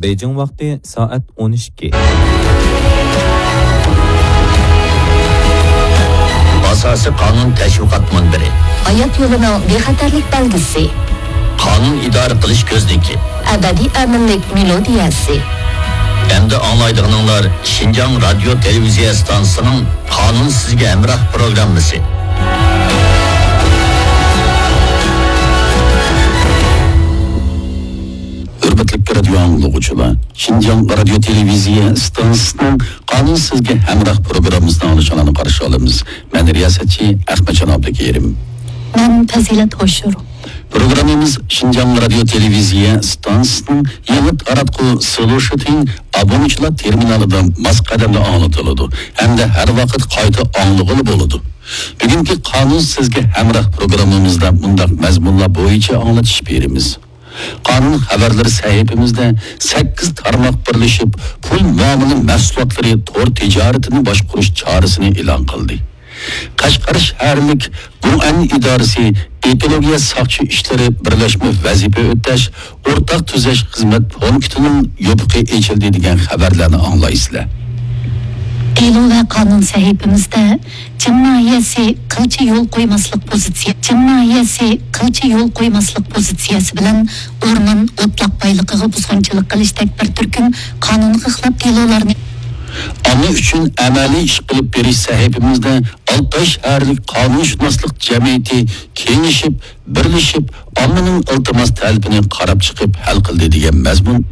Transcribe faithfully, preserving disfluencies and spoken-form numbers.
بېيجىڭ ۋاقتى سائەت ئون ئىككى. ئاساسىي قانۇن تەشۋىقات مۇنبىرى. ھايات يولىنىڭ بىخەتەرلىك بەلگىسى. قانۇن ئىدارە قىلىش كۆزنىكى. ئەبەدىي ئەمىنلىك مېلودىيەسى. ئەمدى ئاڭلايدىغىنىڭلار شىنجاڭ رادىيو تېلېۋىزىيە ئىستانسىسىنىڭ قانۇن سىزگە ھەمراھ پروگراممىسى. ھۆرمەتلىك رادىيو ئاڭلىغۇچىلار، شىنجاڭ رادىيو تېلېۋىزىيە ئىستانسىسىنىڭ قانۇن سىزگە ھەمراھ پروگراممىسىنى ئاڭلىشىڭلارنى قارشى ئالىمىز. مەن رىياسەتچى ئەخمەتجان ئابدۇكېرىم. مەن پەزىلەت ھوشۇر. پروگراممىمىز شىنجاڭ رادىيو تېلېۋىزىيە ئىستانسىسىنىڭ يېڭى تاراتقۇ سلوشىتىڭ ئابۇنىچىلار تېرمىنالىدا ماس قەدەمدە ئاڭلىتىلىدۇ ھەمدە ھەر ۋاقىت قايتا ئاڭلىغىلى بولىدۇ. بۈگۈنكى قانۇن سىزگە ھەمراھ پروگراممىمىزدا مۇنداق مەزمۇنلار بويىچە ئاڭلىتىش بېرىمىز. قانۇن خەۋەرلىرى سەھىپىمىزدە سەككىز تارماق بىرلىشىپ، پۇل مۇئامىلە مەھسۇلاتلىرى تور تىجارىتىنى باشقۇرۇش چارىسىنى ئېلان قىلدى. قەشقەر شەھەرلىك گۇڭئەن ئىدارىسى ئېكولوگىيە ساقچى ئىشلىرى بىرلەشمە ۋەزىپە ئۆتەش ئورتاق تۈزەش خىزمەت پونكىتىنىڭ يوپۇقى ئېچىلدى دېگەن خەۋەرلەرنى ئاڭلايسىلەر. دېلو ۋە قانۇن سەھىپىمىزدە چىم ناھىيەسى قىلچە يول قويماسلىق پوزىتسىيە، چىم ناھىيەسى قىلچە يول قويماسلىق پوزىتسىيەسى بىلەن ئورمان، ئوتلاق بايلىقىغا بۇزغۇنچىلىق قىلىشتەك بىر تۈركۈم قانۇنغا خىلاپ دېلولارنى ئامما ئۈچۈن ئەمەلىي ئىش قىلىپ بېرىش سەھىپىمىزدە ئالتاي شەھەرلىك قانۇنشۇناسلىق جەمئىيىتى كېڭىشىپ، بىرلىشىپ، ئاممىنىڭ ئىلتىماس تەلىپىنى قاراپ چىقىپ ھەل قىلدى دېگەن مەزمۇن